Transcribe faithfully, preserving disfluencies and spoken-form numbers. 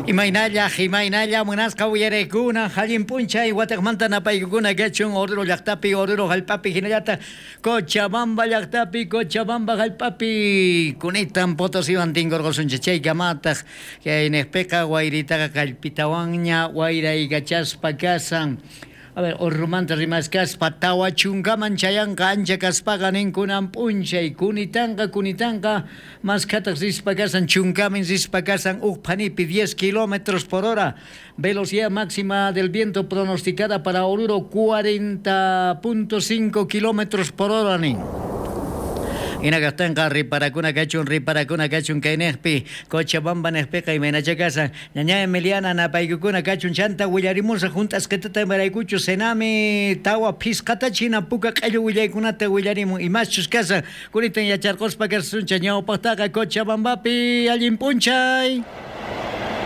Imaynalla, imaynalla munasqa uyarekuna, allin p'unchay wataqmanta napaykukuna kachun Oruro llaqtapi, Oruro hallp'api hinallataq Cochabamba llaqtapi, Cochabamba hallp'api kunitan Potosiwan tinkurqusunchik chaykamataq kay niqpiqa wayritaqa kallpitawanña wayraykachaspa kasan. A ver, Orurumanta rimaskaspa tawa chunkaman chayanqa ancha kaspaqa ninkunan p'unchay kunitanqa kunitanqa maskhataq rispa kasan chunkamin rispa kasan uj phanipi diez kilómetros por hora, velocidad máxima del viento pronosticada para Oruro cuarenta punto cinco kilómetros por hora nin. Hinakaqtinqa riparakuna kachun, riparakuna kachun kay niqpi Cochabamba niqpiqa imaynacha kasan ñaña Emiliana napaykukuna kachun chanta willarimusaq hunt'asqitata imaraykuchu Senami tawa phisqata china puka q'ellu willaykunata willarimun imaschus kasan kunitan yacharquspa kasuncha ñawpaqtaqa Cochabambapi allin p'unchay.